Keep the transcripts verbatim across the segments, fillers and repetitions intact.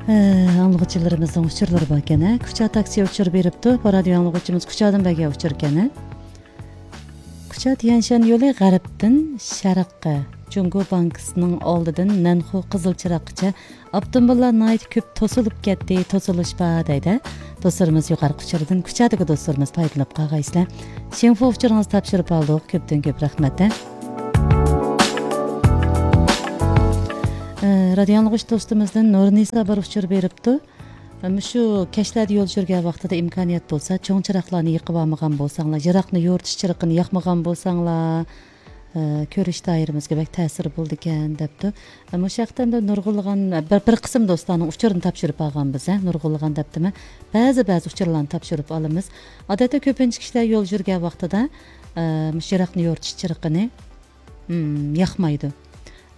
ئاڭلىغۇچىلىرىمىزنىڭ ئۇچۇرلىرى باركەن، ھە؟ كۇچا تاكسى ئۇچۇر بېرىپتۇ. بۇ رادىيو ئاڭلىغۇچىمىز كۇچادىن بەرگەن ئۇچۇركەن، ھە؟ كۇچا تيەنشەن يولى غەربتىن شەرققە، جۇڭگو بانكىسىنىڭ ئالدىدىن نەنخۇ قىزىل چىراغقىچە ئاپتوموبىللار ناھايىتى كۆپ توسۇلۇپ كەتتى، توسۇلۇش بار دەيدۇ. دوستلىرىمىز يۇقىرىقى ئۇچۇردىن كۇچادىكى دوستلىرىمىز پايدىلىنىپ قالغايسىلەر. شىنفۇ ئۇچۇرىڭىزنى تاپشۇرۇپ ئالدۇق. كۆپتىن كۆپ رەھمەت. ئە، رادىيو ئاڭلىغۇچ دوستىمىزدىن نۇرنىسا بىر ئۇچۇر بېرىپتۇ. مۇشۇ كەچلەردە يول يۈرگەن ۋاقتىدا ئىمكانىيەت بولسا، چوڭ چىراغلارنى يېقىۋالمىغان بولساڭلار، يىراقنى يورۇتۇش چىرىقىنى ياقمىغان بولساڭلار، ئە، كۆرۈش دائىرىمىزگە بەك تەسىرى بولىدىكەن، دەپتۇ. ئە، مۇشۇ ھەقتە ئەمدى نۇرغۇنلىغان، بىر، بىر قىسىم دوستلارنىڭ ئۇچۇرىنى تاپشۇرۇپ ئالغان بىز، ھە، نۇرغۇنلىغان دەپتىمەن. بەزى، بەزى ئۇچۇرلارنى تاپشۇرۇپ ئالىمىز. ئادەتتە كۆپىنچە كىشىلەر يول يۈرگەن ۋاقتىدا، ئە، مۇشۇ يىراقنى يورۇتۇش چىرىقىنى، ھىم، ياقمايدۇ.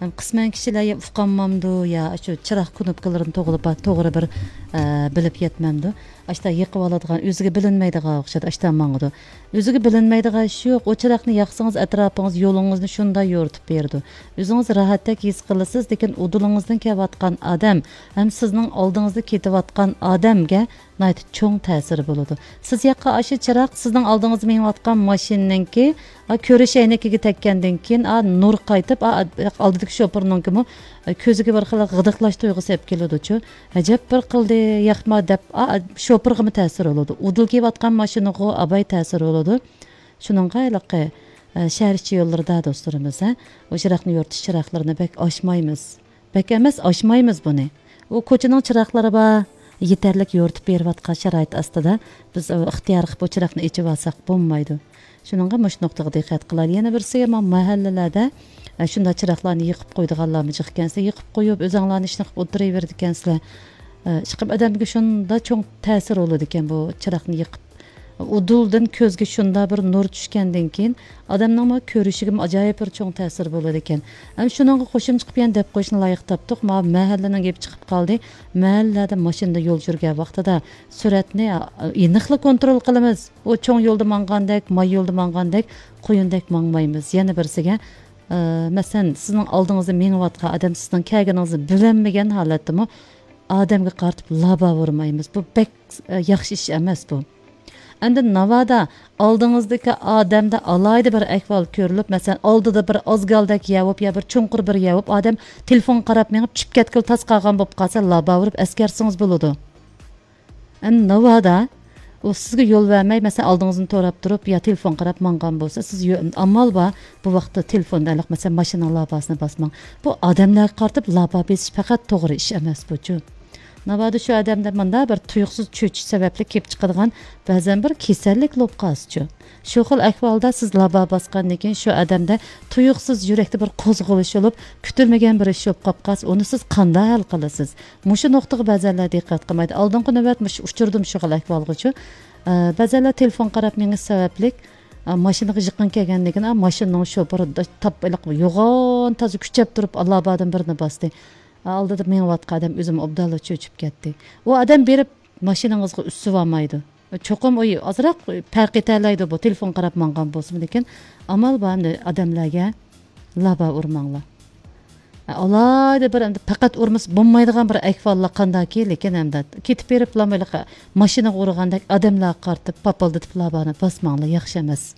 قىسمەن كىشىلەر يا ئۇقالمامدۇ، يا شۇ چىراغ كۇنۇپكىلىرىنى توغرا، توغرا بىر، ئە، بىلىپ يەتمەمدۇ. ئاشتا يېقىۋالىدىغان، ئۆزىگە بىلىنمەيدىغان ئوخشايدۇ، ئاشتا ماڭىدۇ. ئۆزىگە بىلىنمەيدىغان ئىش يوق. ئۇ چىراغنى ياقسىڭىز، ئەتراپىڭىز، يولىڭىزنى شۇنداق يورۇتۇپ بېرىدۇ. ئۆزىڭىز راھەتتەك ھېس قىلىسىز، لېكىن ئۇدۇلىڭىزدىن كېلىۋاتقان ئادەم ھەم سىزنىڭ ئالدىڭىزدا كېتىۋاتقان ئادەمگە ناھايىتى چوڭ تەسىرى بولىدۇ. سىز ياققان ئاشۇ چىراغ سىزنىڭ ئالدىڭىزدا مېڭىۋاتقان ماشىنىنىڭكى، ئا، كۆرۈش ئەينىكىگە تەگكەندىن كېيىن، ئا، نۇر قايتىپ، ئا، ئالدىدىكى شوپۇرنىڭكىمۇ، ئا، كۆزىگە بىر خىل غىدىقلاش تۇيغۇسى ئېلىپ كېلىدۇچۇ. ئەجەب بىر قىلدى، ياقما دەپ، ئا، شوپۇرغىمۇ تەسىر بولىدۇ. ئۇدۇل كېلىۋاتقان ماشىنىغۇ ئاباي تەسىر بولىدۇ. شۇنىڭغا ھېلىقى، ئە، شەھەر ئىچى يوللىرىدا دوستلىرىمىز، ھە، ئۇ چىراغنى يورۇتۇش چىراغلىرىنى بەك ئاچمايمىز. بەك ئەمەس، ئاچمايمىز بۇنى. ئۇ كوچىنىڭ چىراغلىرى بار، يېتەرلىك يورۇتۇپ بېرىۋاتقان شارائىت ئاستىدا بىز، ئۇ، ئىختىيار قىلىپ بۇ چىراغنى ئېچىۋالساق بولمايدۇ. شۇنىڭغا مۇشۇ نۇقتىغا دىققەت قىلايلى. يەنە بىرسىگە، ما-، مەھەللىلەردە، ئە، شۇنداق چىراغلارنى يېقىپ قويىدىغانلارمۇ جىق ئىكەنسىلەر، يېقىپ قويۇپ، ئۆزۈڭلارنىڭ ئىشىنى قىلىپ ئولتۇرۇۋېرىدىكەنسىلەر. ئە، ئىشقىلىپ ئادەمگە شۇنداق چوڭ تەسىر بولىدىكەن بۇ چىراغنى يېقىپ. ئۇدۇلدىن كۆزگە شۇنداق بىر نۇر چۈشكەندىن كېيىن، ئادەمنىڭمۇ كۆرۈشىگىمۇ ئاجايىپ بىر چوڭ تەسىر بولىدىكەن. ئەمدى شۇنىڭغا قوشۇمچە قىلىپ يەنە دەپ قويۇشنى لايىق تاپتۇق. ماۋۇ مەھەللىنىڭ گېپى چىقىپ قالدى. مەھەللىلەردە ماشىنىدا يول يۈرگەن ۋاقتىدا سۈرئەتنى، ئېنىقلا كونترول قىلىمىز. ئۇ چوڭ يولدا ماڭغاندەك، ماي يولدا ماڭغاندەك، قۇيۇندەك ماڭمايمىز. يەنە بىرسىگە، ئە، مەسىلەن، سىزنىڭ ئالدىڭىزدا مېڭىۋاتقان ئادەم سىزنىڭ كەلگىنىڭىزنى بىلەلمىگەن ھالەتتىمۇ ئادەمگە قارىتىپ لابا ئۇرمايمىز. بۇ بەك، ئە، ياخشى ئىش ئەمەس بۇ. ئەمدى ناۋادا ئالدىڭىزدىكى ئادەمدە ئالاھىدە بىر ئەھۋال كۆرۈلۈپ، مەسىلەن، ئالدىدا بىر ئازگالدەك يەر بولۇپ يا بىر چوڭقۇر بىر يەر بولۇپ، ئادەم تېلېفونغا قاراپ مېڭىپ چۈشۈپ كەتكىلى تاس قالغان بولۇپ قالسا، لابا ئۇرۇپ ئەسكەرتسىڭىز بولىدۇ. ئەمدى ناۋادا ئۇ سىزگە يول بەرمەي، مەسىلەن، ئالدىڭىزنى توراپ تۇرۇپ يا تېلېفون قاراپ ماڭغان بولسا، سىز يو-، ئامال بار، بۇ ۋاقىتتا تېلېفوندا ھېلىقى، مەسىلەن، ماشىنىنىڭ لاباسىنى باسماڭ. بۇ ئادەملەرگە قارىتىپ لابا بېسىش پەقەت توغرا ئىش ئەمەس بۇچۇ. ناۋادا شۇ ئادەمدە مۇنداق بىر تۇيۇقسىز چۆچۈش سەۋەبلىك كېلىپ چىقىدىغان بەزەن بىر كېسەللىك بولۇپ قالسىچۇ. شۇ خىل ئەھۋالدا سىز لابا باسقاندىن كېيىن شۇ ئادەمدە تۇيۇقسىز يۈرەكتە بىر قوزغىلىش بولۇپ، كۈتۈلمىگەن بىر ئىش بولۇپ قاپ قالسا، ئۇنى سىز قانداق ھەل قىلىسىز؟ مۇشۇ نۇقتىغا بەزەنلەر دىققەت قىلمايدۇ. ئالدىنقى نۆۋەت مۇشۇ ئۇچرىدىم شۇ خىل ئەھۋالغىچۇ. ئە، بەزەنلەر تېلېفون قاراپ مېڭىش سەۋەبلىك، ئە، ماشىنىغا يېقىن كەلگەندىن كېيىن، ئا، ماشىنىنىڭ شوپۇرى د-، تاپ-، ھېلىقى يوغان تازا كۈچەپ تۇرۇپ، لابادىن بىرنى باستى. ئا، ئالدىدا مېڭىۋاتقان ئادەم ئۆزىمۇ ئوبدانلا چۆچۈپ كەتتى. ئۇ ئادەم بېرىپ ماشىنىڭىزغا ئۈسۈۋالمايدۇ. چوقۇم ئۇ ئازراق پەرق ئېتەلەيدۇ بۇ، تېلېفون قاراپ ماڭغان بولسىمۇ، لېكىن ئامال بار ئەمدى ئادەملەرگە لابا ئۇرماڭلار. ئالاھىدە بىر ئەمدى پەقەت ئۇرمىسا بولمايدىغان بىر ئەھۋاللار قانداكى، لېكىن ئەمدى كېتىپ بېرىپلا ماشىنىغا ئۇرغاندەك ئادەملەرگە قارىتىپ پاپىلدىتىپ لابانى باسماڭلار، ياخشى ئەمەس.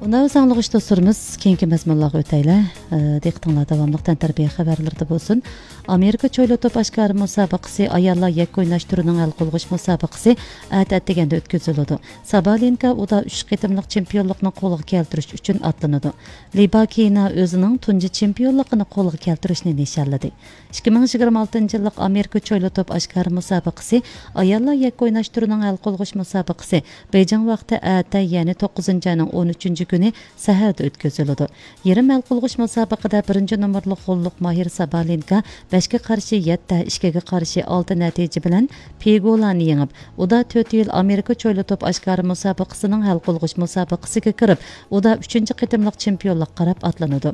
ئۇندا ساڭلىغۇچ دوستلىرىمىز كېيىنكى مەزمۇنلارغا ئۆتەيلى. ئە، دىققىتىڭلار داۋاملىق تەنتەربىيە خەۋەرلىرىدە بولسۇن. ئامېرىكا چويلا توپ ئاشكارا مۇسابىقىسى ئاياللار يەككە ئويناش تۈرىنىڭ ھەل قىلغۇچ مۇسابىقىسى ئەتە ئەتىگەندە ئۆتكۈزۈلىدۇ. سابالېنكا ئۇدا ئۈچ قېتىملىق چېمپىيونلۇقنى قولغا كەلتۈرۈش ئۈچۈن ئاتلىنىدۇ. لىباكىنا ئۆزىنىڭ تۇنجى چېمپىيونلۇقىنى قولغا كەلتۈرۈشنى نىشانلىدى. ئىككى مىڭ يىگىرمە ئالتىنچى يىللىق ئامېرىكا چويلا توپ ئاشكارا مۇسابىقىسى، ئاياللار يەككە ئويناش تۈرىنىڭ ھەل قىلغۇچ مۇسابىقىسى بېيجىڭ ۋاقتى ئەتە، يەنى توققۇزىنچى ئاينىڭ ئون ئۈچىنچى كۈنى سەھەردە ئۆتكۈزۈلىدۇ. يېرىم ھەل قىلغۇچ مۇسابىقىدە بىرىنچى نومۇرلۇق غوللۇق ماھىر سابالېنكا بەشكە قارشى يەتتە، ئىككىگە قارشى ئالتە نەتىجە بىلەن پىگولانى يېڭىپ، ئۇدا تۆت يىل ئامېرىكا چويلا توپ ئاشكارا مۇسابىقىسىنىڭ ھەل قىلغۇچ مۇسابىقىسىگە كىرىپ، ئۇدا ئۈچىنچى قېتىملىق چېمپىيونلۇققا قاراپ ئاتلىنىدۇ.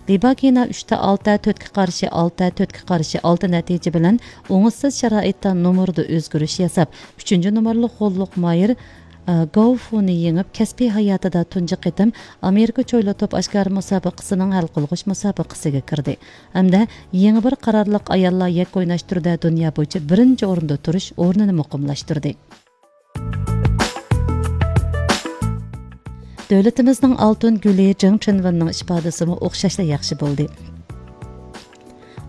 لىباكىنا ئۈچتە ئالتە، تۆتكە قارشى ئالتە، تۆتكە قارشى ئالتە نەتىجە بىلەن ئوڭۇشسىز شارائىتتا نومۇردا ئۆزگىرىش ياساپ، ئۈچىنچى نومۇرلۇق غوللۇق ماھىر، ئە، گاۋ فۇنى يېڭىپ، كەسپىي ھاياتىدا تۇنجى قېتىم ئامېرىكا چويلا توپ ئاشكارا مۇسابىقىسىنىڭ ھەل قىلغۇچ مۇسابىقىسىگە كىردى ھەمدە يېڭى بىر قارارلىق ئاياللار يەككە ئويناش تۈرىدە دۇنيا بويىچە بىرىنچى ئورۇندا تۇرۇش ئورنىنى مۇقىملاشتۇردى. دۆلىتىمىزنىڭ ئالتۇن گۈلى جېڭ چىنۋېننىڭ ئىپادىسىمۇ ئوخشاشلا ياخشى بولدى.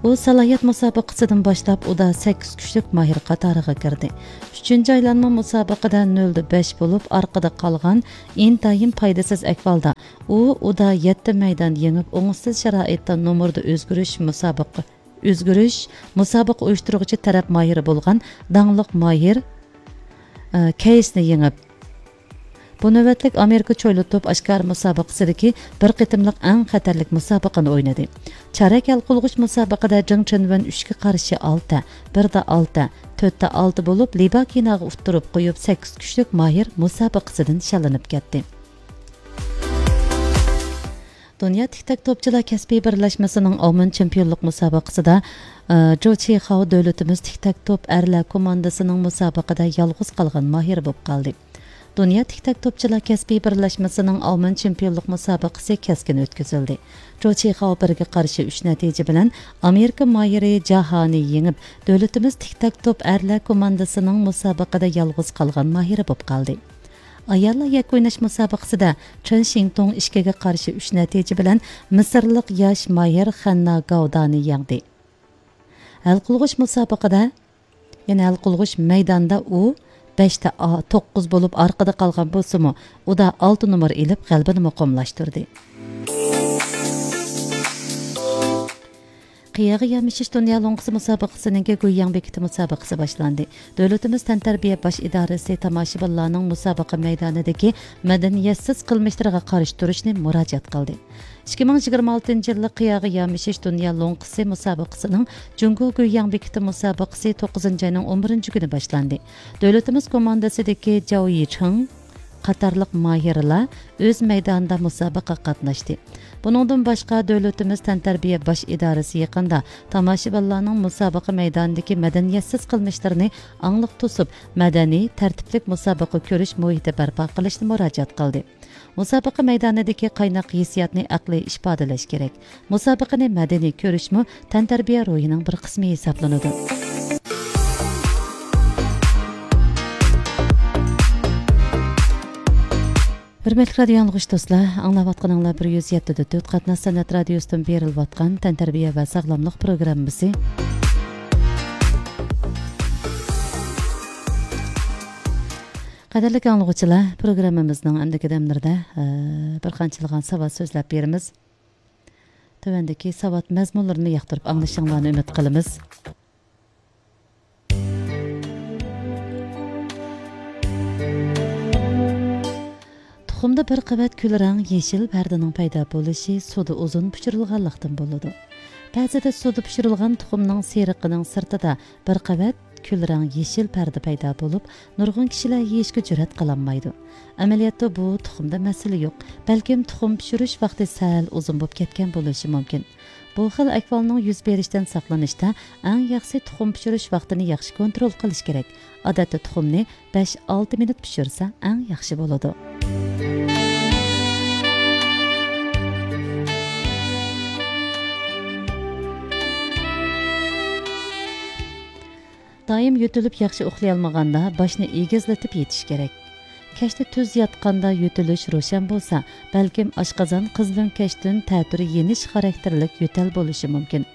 ئۇ سالاھىيەت مۇسابىقىسىدىن باشلاپ ئۇدا سەككىز كۈچلۈك ماھىر قاتارىغا كىردى. ئۈچىنچى ئايلانما مۇسابىقىدە نۆلدە بەش بولۇپ ئارقىدا قالغان ئىنتايىن پايدىسىز ئەھۋالدا ئۇ ئۇدا يەتتە مەيدان يېڭىپ، ئوڭۇشسىز شارائىتتا نومۇردا ئۆزگىرىش مۇسابىقە، ئۆزگىرىش مۇسابىقە ئۇيۇشتۇرغۇچى تەرەپ ماھىرى بولغان داڭلىق ماھىر، ئە، كەيسنى يېڭىپ، بۇ نۆۋەتلىك ئامېرىكا چويلا توپ ئاشكارا مۇسابىقىسىدىكى بىر قېتىملىق ئەڭ خەتەرلىك مۇسابىقىنى ئوينىدى. چارەك ھەل قىلغۇچ مۇسابىقىدە جېڭ چىنۋېن ئۈچكە قارشى ئالتە، بىردە ئالتە، تۆتتە ئالتە بولۇپ، لى باكىناغا ئۇتتۇرۇپ قويۇپ، سەككىز كۈچلۈك ماھىر مۇسابىقىسىدىن شاللىنىپ كەتتى. دۇنيا تىك تاك توپچىلار كەسپىي بىرلەشمىسىنىڭ ئاۋمېن چېمپىيونلۇق مۇسابىقىسىدا، ئى، جو چىخاۋ دۆلىتىمىز تىك تاك توپ ئەرلەر كوماندىسىنىڭ مۇسابىقىدە يالغۇز قالغان ماھىرى بولۇپ قالدى. دۇنيا تىك تاك توپچىلار كەسپىي بىرلەشمىسىنىڭ ئاۋمېن چېمپىيونلۇق مۇسابىقىسى كەسكىن ئۆتكۈزۈلدى. جو چىخاۋ بىرگە قارشى ئۈچ نەتىجە بىلەن ئامېرىكا ماھىرى جاھانى يېڭىپ، دۆلىتىمىز تىك تاك توپ ئەرلەر كوماندىسىنىڭ مۇسابىقىدە يالغۇز قالغان ماھىرى بولۇپ قالدى. ئاياللار يەككە ئويناش مۇسابىقىسىدە چېن شىڭتۇڭ ئىككىگە قارشى ئۈچ نەتىجە بىلەن مىسىرلىق ياش ماھىر خەننا گاۋدانى يەڭدى. ھەل قىلغۇچ مۇسابىقىدە، يەنى ھەل قىلغۇچ مەيداندا ئۇ بەشتە ئا-، توققۇز بولۇپ ئارقىدا قالغان بولسىمۇ، ئۇدا ئالتە نومۇر ئېلىپ غەلىبىنى مۇقىملاشتۇردى. قىياغا يامىشىش دۇنيا لوڭقىسى مۇسابىقىسىنىڭكى گۇيياڭ بېكىتى مۇسابىقىسى باشلاندى. دۆلىتىمىز تەنتەربىيە باش ئىدارىسى تاماشىبىنلارنىڭ مۇسابىقە مەيدانىدىكى مەدەنىيەتسىز قىلمىشلىرىغا قارشى تۇرۇشنى مۇراجىئەت قىلدى. ئىككى مىڭ يىگىرمە ئالتىنچى يىللىق قىياغا يامىشىش دۇنيا لوڭقىسى مۇسابىقىسىنىڭ جۇڭگو گۇيياڭ بېكىتى مۇسابىقىسى توققۇزىنچى ئاينىڭ ئون بىرىنچى كۈنى باشلاندى. دۆلىتىمىز كوماندىسىدىكى جاۋ يىچىڭ قاتارلىق ماھىرلار ئۆز مەيدانىدا مۇسابىقىگە قاتناشتى. بۇنىڭدىن باشقا، دۆلىتىمىز تەنتەربىيە باش ئىدارىسى يېقىندا تاماشىبىنلارنىڭ مۇسابىقە مەيدانىدىكى مەدەنىيەتسىز قىلمىشلىرىنى ئاڭلىق توسۇپ، مەدەنىي، تەرتىپلىك مۇسابىقە كۆرۈش مۇھىتى بەرپا قىلىشنى مۇراجىئەت قىلدى. مۇسابىقە مەيدانىدىكى قايناق ھېسسىياتنى ئەقلىي ئىپادىلەش كېرەك. مۇسابىقىنى مەدەنىي كۆرۈشمۇ تەنتەربىيە روھىنىڭ بىر قىسمى ھېسابلىنىدۇ. ھۆرمەتلىك رادىيو ئاڭلىغۇچى دوستلار، ئاڭلاۋاتقىنىڭلار بىر يۈز يەتتە دە تۆت قاتناش سەنئەت رادىيوسىدىن بېرىلىۋاتقان تەنتەربىيە ۋە ساغلاملىق پروگراممىسى. قەدىرلىك ئاڭلىغۇچىلار، پروگراممىمىزنىڭ ئەمدىكى دەملىرىدە، ئە، بىر قانچىلىغان ساۋات سۆزلەپ بېرىمىز. تۆۋەندىكى ساۋات مەزمۇنلىرىنى ياقتۇرۇپ ئاڭلىشىڭلارنى ئۈمىد قىلىمىز. تۇخۇمدا بىر قەۋەت كۈلرەڭ يېشىل پەردىنىڭ پەيدا بولۇشى سۇدا ئۇزۇن پىشۇرۇلغانلىقتىن بولىدۇ. بەزىدە سۇدا پىشۇرۇلغان تۇخۇمنىڭ سېرىقىنىڭ سىرتىدا بىر قەۋەت كۈلرەڭ يېشىل پەردە پەيدا بولۇپ، نۇرغۇن كىشىلەر يېيىشكە جۈرئەت قىلالمايدۇ. ئەمەلىيەتتە بۇ تۇخۇمدا مەسىلە يوق، بەلكىم تۇخۇم پىشۇرۇش ۋاقتى سەل ئۇزۇن بولۇپ كەتكەن بولۇشى مۇمكىن. بۇ خىل ئەھۋالنىڭ يۈز بېرىشىدىن ساقلىنىشتا ئەڭ ياخشىسى تۇخۇم پىشۇرۇش ۋاقتىنى ياخشى كونترول قىلىش كېرەك. ئادەتتە تۇخۇمنى بەش ئالتە مىنۇت پىشۇرسا ئەڭ ياخشى بولىدۇ. دائىم يۆتىلىپ ياخشى ئۇخلىيالمىغاندا باشنى ئېگىزلىتىپ يېتىش كېرەك. كەچتە تۈز ياتقاندا يۆتىلىش روشەن بولسا، بەلكىم ئاشقازان قىزىلۆڭكەشتىن تەتۈر يېنىش خاراكتېرلىك يۆتەل بولۇشى مۇمكىن.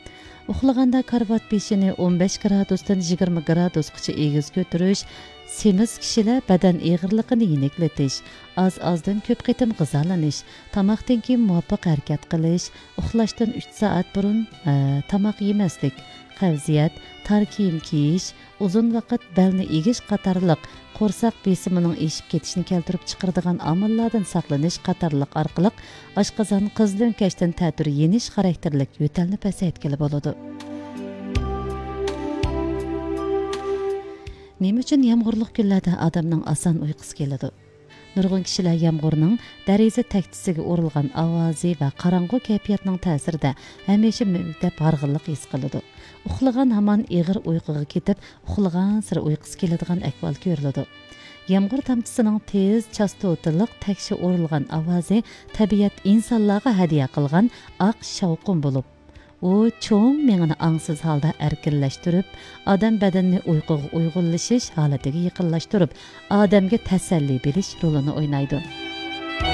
ئۇخلىغاندا كارىۋات بېشىنى ئون بەش گرادۇستىن يىگىرمە گرادۇسقىچە ئېگىز كۆتۈرۈش، سېمىز كىشىلەر بەدەن ئېغىرلىقىنى يېنىكلىتىش، ئاز-ئازدىن كۆپ قېتىم غىزالىنىش، تاماقتىن كېيىن مۇۋاپىق ھەرىكەت قىلىش، ئۇخلاشتىن ئۈچ سائەت بۇرۇن، ئە، تاماق يېمەسلىك، قەۋزىيەت، تار كىيىم كىيىش، ئۇزۇن ۋاقىت بەلنى ئېگىش قاتارلىق قورساق بېسىمىنىڭ ئېشىپ كېتىشىنى كەلتۈرۈپ چىقىرىدىغان ئامىللاردىن ساقلىنىش قاتارلىق ئارقىلىق ئاشقازان قىزىلۆڭكەشتىن تەتۈر يېنىش خاراكتېرلىك يۆتەلنى پەسەيتكىلى بولىدۇ. نېمە ئۈچۈن يامغۇرلۇق كۈنلەردە ئادەمنىڭ ئاسان ئۇيقۇسى كېلىدۇ؟ نۇرغۇن كىشىلەر يامغۇرنىڭ دېرىزە تەكچىسىگە ئۇرۇلغان ئاۋازى ۋە قاراڭغۇ كەيپىياتنىڭ تەسىرىدە ھەمىشە مۈۋدەپ ھارغىنلىق ھېس قىلىدۇ. ئۇخلىغان ھامان ئېغىر ئۇيقۇغا كېتىپ، ئۇخلىغانسېرى ئۇيقۇسى كېلىدىغان ئەھۋال كۆرۈلىدۇ. يامغۇر تامچىسىنىڭ تېز، چاستوتىلىق، تەكشى ئۇرۇلغان ئاۋازى تەبىئەت ئىنسانلارغا ھەدىيە قىلغان ئاق شاۋقۇن بولۇپ، ئۇ چوڭ مېڭىنى ئاڭسىز ھالدا ئەركىنلەشتۈرۈپ، ئادەم بەدىنىنى ئۇيقۇغا ئۇيغۇنلىشىش ھالىتىگە يېقىنلاشتۇرۇپ، ئادەمگە تەسەللى بېرىش رولىنى ئوينايدۇ.